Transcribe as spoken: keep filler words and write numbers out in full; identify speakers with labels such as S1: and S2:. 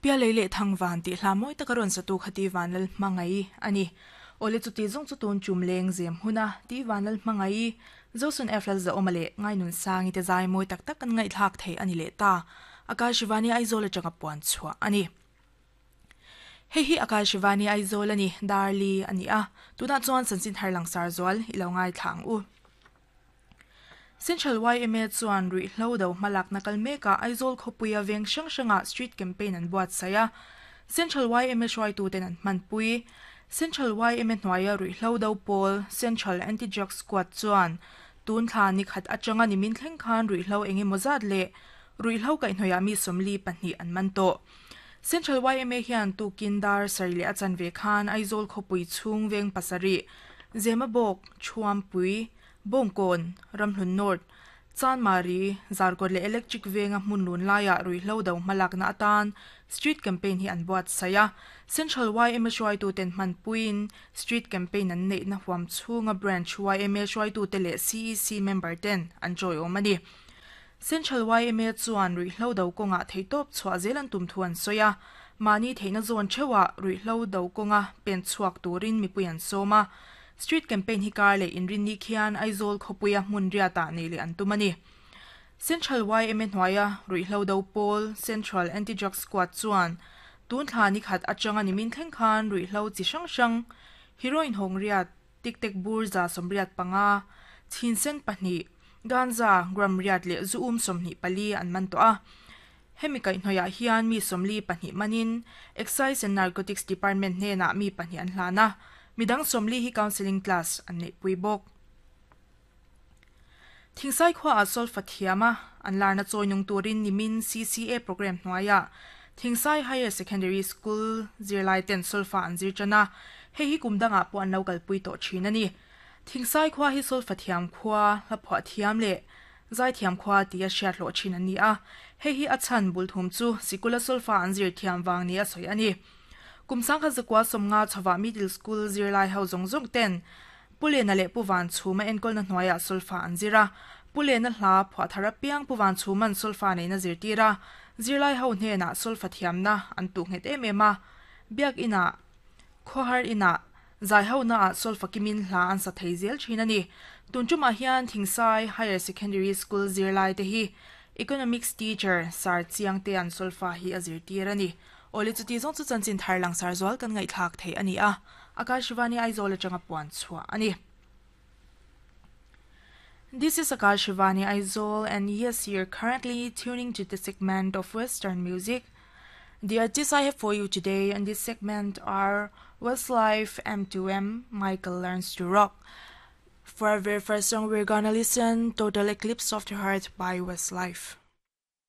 S1: Pialei leh thangvan tih hla mawi taka rawn satu kha ti vanlal hmangai ani ole chuti zawng chu tun chum leng zem huna ti vanlal hmangai zosun eflal za awma leh ngainun sangi te zai mawi tak tak kan ngai thlak thei ani le ta Akashvani Aizawl atanga puan chhuah ani hei hi Akashvani Aizawl ani darli ani a tuna chuan chanchin thar langsar zual ilo ngai thlang u Central Y M A chuan rui hlo do hmalak nakal meka Aizawl khawpuia veng hrang hranga street campaign an buat saia Central Y M A hruaitu ten an hmanpui Central Y M A hnuaia rui hlo do pawl Central Anti-Drug Squad chuan tun thla ni khat atanga ni min thleng khan rui hlo engemaw zat leh rui hlo kaihhnawih mi sawmli pahnih an man tawh Central Y M A hian tukindar sarih leh a chanve khan Aizawl khawpui chhung veng pasarih Zemabawk Thuampui Bongkon Ramhlun North Chanmari Zarkawt leh Electric venga hmun lun laia rui hlo do hmalak na atan street campaign hi an buat saia Central Y M A hruaitu ten hmanpuiin street campaign an neih na huam chhunga branch Y M A hruaitu te leh C E C member ten an chawi awm ani Central Y M A chuan rui hlo do kawnga theitawp chhuah zel an tum thu an sawi a mani theihna zawn theuha rui hlo do kawnga pen chhuak turin mipui an sawm a Street campaign hi kar leh inrin ni khian Aizawl khawpuia hmun riata nei leh an tum ani Central Y M A hnuaia rui hlo do pawl Central Anti-Drug Squad chuan tun thla ni khat atanga ni min thleng khan rui hlo chi hrang hrang heroin hawng riat tik tek bur za sawmriat panga chinsen pahnih ganza gram riat leh zu um sawmhnih pali an man tawh a hemi kaihhnawih ah hian mi sawmli pahnih manin Excise and Narcotics Department hnenah mi pahnih an hlan a midang sawmli hi counseling class an neih pui bawk Thingsai khua a solfa thiama an larna chawinung turin nimin C C A program hnuaia Thingsai Higher Secondary School zirlai ten solfa an zir chana hei hi kumdanga pawh an lo kalpui tawh thin ani Thingsai khua hi solfa thiam khua hlaphuah thiam leh zai thiam khua ti a hriat hlawh thin ani a hei hi a chhan bul thum chu sikula solfa an zir thiam wang ni a sawi ani kumsang kha zakwa somnga chhawa middle school zirlai ho zong zong ten pulena leh puwan chhuma enkawlna hnuaiah solfa an zira pulena hla phuah thar apiang puwan chhuman solfa neina zirtira zirlai ho hnenah solfa thiamna an tu nghet em em a biak ina khawhar ina zai ho na ah solfa kimin hla an sa thei zel thin ani tun tumah hian Thingsai Higher Secondary School zirlai te hi economics teacher sar chiang te an solfa hi a zirtir ani ole chuti zawng chu chanchin thar langsar zual kan ngai thlak thei ani a Akashvani Aizawl atanga puan chhuah ani This is Akashvani Aizawl, and yes, you're currently tuning to the segment of Western music. The artists I have for you today in this segment are Westlife, M two M, Michael Learns to Rock. For our very first song, we're gonna listen Total Eclipse of the Heart by Westlife.